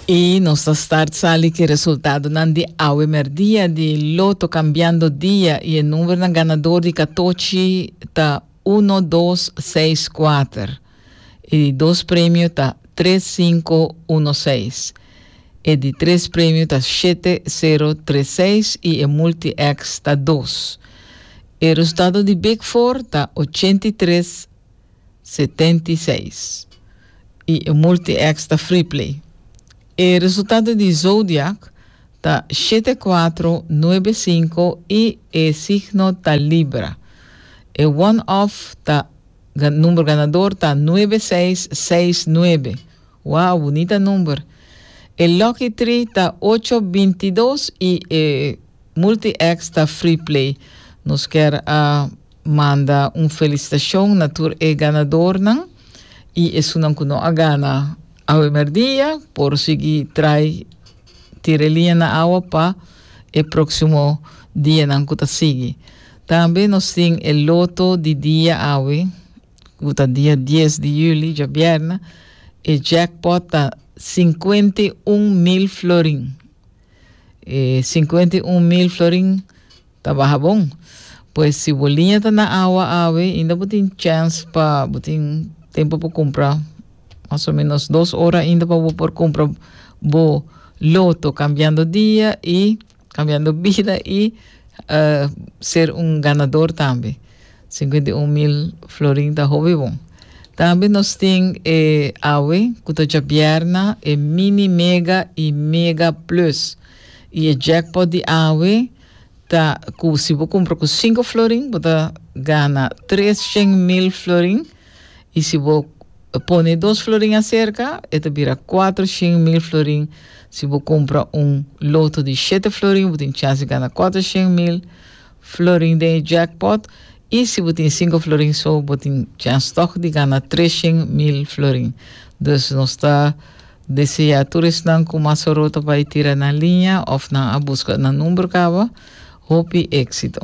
I nos ta start sali ku e resultadonan di awe merdia di Loto Cambiando Dia i e numbernan ganador di katochi ta uno dos seis kuater. E di dos premio ta tres sinku uno seis. E di tres premio ta shete sero tres seis i e multi X ta dos. E resultado di Big Four ta 83 76 i e multi X ta free play. E resultado di Zodiac ta shete kuatro nuebe sinku i e signo ta Libra. E one off ta number ganador ta nuebe seis seis nuebe. Wow, bunita number. E lucky tree ta ocho bintidos i e multi X ta free play. Nos kier a manda un felicitacion na tur e ganadornan i esunnan ku no a gana awe merdia por sigui trai tira e liña na awa pa e proximo dianan ku ta sigui. Tambe nos tin e loto di dia awe ku ta dia dies di juli djabièrnè e jackpot ta 51,000 florin. E 51,000 florin Ta baha bon. Pues si bo liña ta na awa awe, inda bo tin chance pa bo tin tempo pa cumpra mas o menos dos ora inda pa bo por cumpra bo loto cambiando dia y cambiando bida y uh, ser un ganador tambe. 51 mil florin ta hopi bon. Tambe nos tin e awe ku ta djabierna e mini mega y mega plus. Y e jackpot di awe ta ku si bo kumpra ku sinku florin bo ta gana tres shen mil florin y si bo pone dos florin aserka e ta bira kuatro shen mil florin. Si bo kumpra un loto di shete florin bo tin chans di gana kuatro shen mil florin den e jackpot y si bo tin sinku florin so bo tin chans tog di gana tres shen mil florin. Dus nos ta Desea tur esnan ku mas oro ta bai tira nan liña òf nan a buska nan number kaba, hopi éksito.